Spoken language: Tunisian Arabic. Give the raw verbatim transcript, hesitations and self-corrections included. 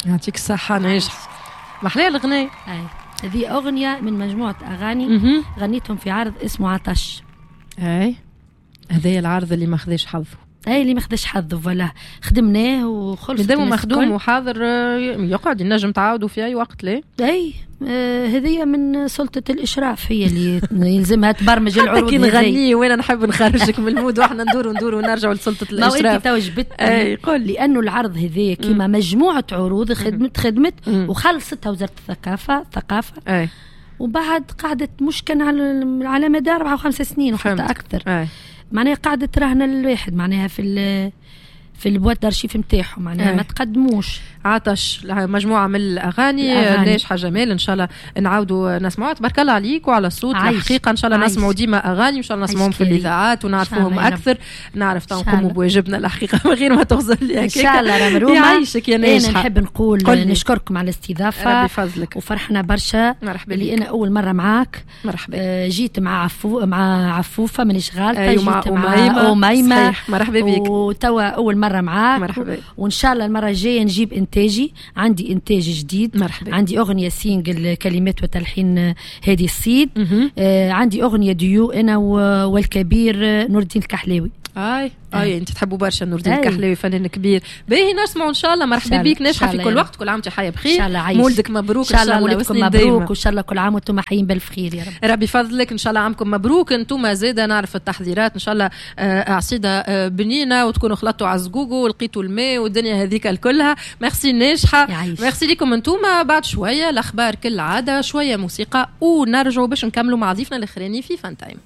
يعطيك الصحة ناجحه، محلاه الغناء. هذه اغنية من مجموعة اغاني غنيتهم في عرض اسمه عطش. اي، هذا العرض اللي ما خذاش حظه. اي، اللي ما خذاش حظه، voilà، خدمناه وخلص. مادام مخدوم وحاضر آه، يقعد، ينجم تعاودوا في اي وقت، ليه؟ اي، آه هذه من سلطة الإشراف، هي اللي يلزمها تبرمج العروض. كي نغني وانا نحب نخرجك من ال mood، واحنا ندور ندور ونرجعوا لسلطة الإشراف. ما انت تو جبت. اي، قول. لأنه العرض هذا كيما مجموعة عروض خدمت خدمت وخلصتها وزارة الثقافة الثقافة اي وبعد قعدت مش كان على على مدار أربعة وخمس سنين وحتى أكثر. أي. معناها قعدت رهن الواحد معناها في في ال boîte d'archives نتاعهم، معناها ما تقدموش. عطش، مجموعة من الاغاني ناجحة جمال، ان شاء الله نعاودوا نسمعوها. تبارك الله عليك وعلى الصوت الحقيقه، ان شاء الله نسمعوا ديما اغاني، وان شاء الله نسمعوهم في الاذاعات ونعرفوهم اكثر. نعرف نقوموا بواجبنا الحقيقة من غير ما تغزر لي. ان شاء الله رمرومه. يعيشك يا ناجحه. انا نحب نقول نشكركم على الاستضافه. ربي فضلك. وفرحنا برشا. مرحبا. اللي انا اول مرة معاك. مرحبا. آه جيت مع عفو مع عفوفه، مانيش غالطه. أيوة، جيت مع اميمه. مرحبا بك. وتوا اول مرة معاك. مرحبا. وان شاء الله المرة الجاية نجيب انتاجي، عندي انتاج جديد. مرحبا. عندي اغنية single، كلمات وتلحين هادي الصيد. آه عندي اغنية ديو انا والكبير نور الدين الكحلاوي. اي اي، انت تحبوا برشا نور الدين الكحلاوي، فنان كبير. باهي، نسمعوا ان شاء الله. مرحبا بك ناجحة في كل وقت، كل عام وانت حيه بخير. ان شاء الله. عايش. مولدك مبروك. ان شاء الله مولدكم مبروك، وان شاء الله كل عام وانتم حيين بالف خير يا رب. ربي فضلك، ان شاء الله عامكم مبروك انتم زاده. نعرف التحضيرات، ان شاء الله آه، عصيده آه، بنينه وتكونوا خلطتوا على الزقوقو ولقيتوا الماء والدنيا هذيك الكلها. ميرسي ناجحه، ميرسي لكم انتم. بعد شوية الاخبار كالعاده، شوية موسيقى ونرجعوا باش نكملوا مع ضيفنا الاخراني في فان تايم.